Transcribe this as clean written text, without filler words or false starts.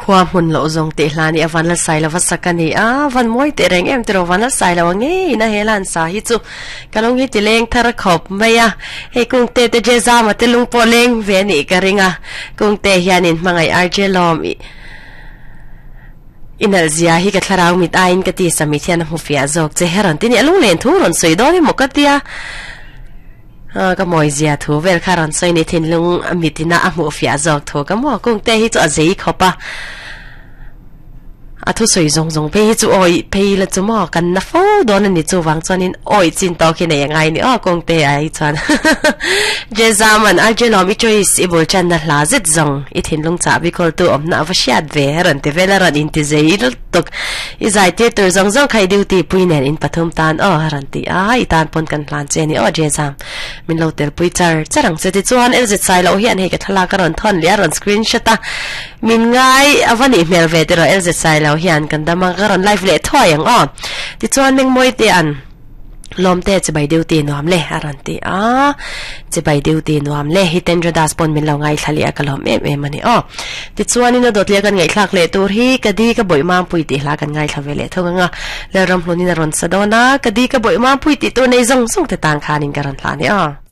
Khua hmun loh zawng tih hla nih a van la sai lova sak a ni a, van mawi teh reng em tiraw van la sai lo ang ngei in a he lan sa hi chu ka lung hi ti leng thar khawp mai a, hei kungte te je zama te lung pawh leng ve a nih ka ring a, kungte hianin hmangaih RJ lawm i i nalh zia hi ka thlarau mit aiin ka ti samit hian a hmu fiah zawk che he rawn ti ni a lunglen thu rawn sawi dawn emaw ka tia. Ka mawi zia thu vel kha rawn sawi ni thinlung mitina a hmuh fiah zawk thu ka maw kungte hi chu a zei khawp a. A thusawi zawng zawng phei hi chu awi phei la chu maw kan na fo dawn a ni chuvang chuanin awi chin tawk hi nei a ngai ni aw kawngte ah hi chuan Jezaman Arjelawm i choice i bul channa hla zet zawng i thinlung chahbi kawltu awmna a va hriat ve a rawn ti vel a rawn inti zei lutuk i zai tir tur zawng zawng kha i duty pui nen in pathum tan aw a rawn ti a i tan pawn kan hlan che a ni aw Jezam Min lo tel pui char char ang che tichuan LZ sai loh hian hei ka thlalak a rawn thawn leh a rawn screenshot a min ngai a va nih hmel ve tiraw LZ sai loh hian kan dam a ka rawn live leh thuai ang aw tichuan Mengmawi te an lawm te chibai duty nuam le a rawn ti a chibai duty nuam le Hitendra Das pawn min lo ngaithla leh a ka lawm em em a ni aw tichuan in a dawt leh kan ngaihthlak leh tur hi ka di ka bawih mampui tih hla kan ngaithla ve leh thung ang a Lalramhlun in a rawn sa dawn a ka di ka bawih mampui tih tur nei zawng zawng te tan khanin ka rawn hla a ni aw.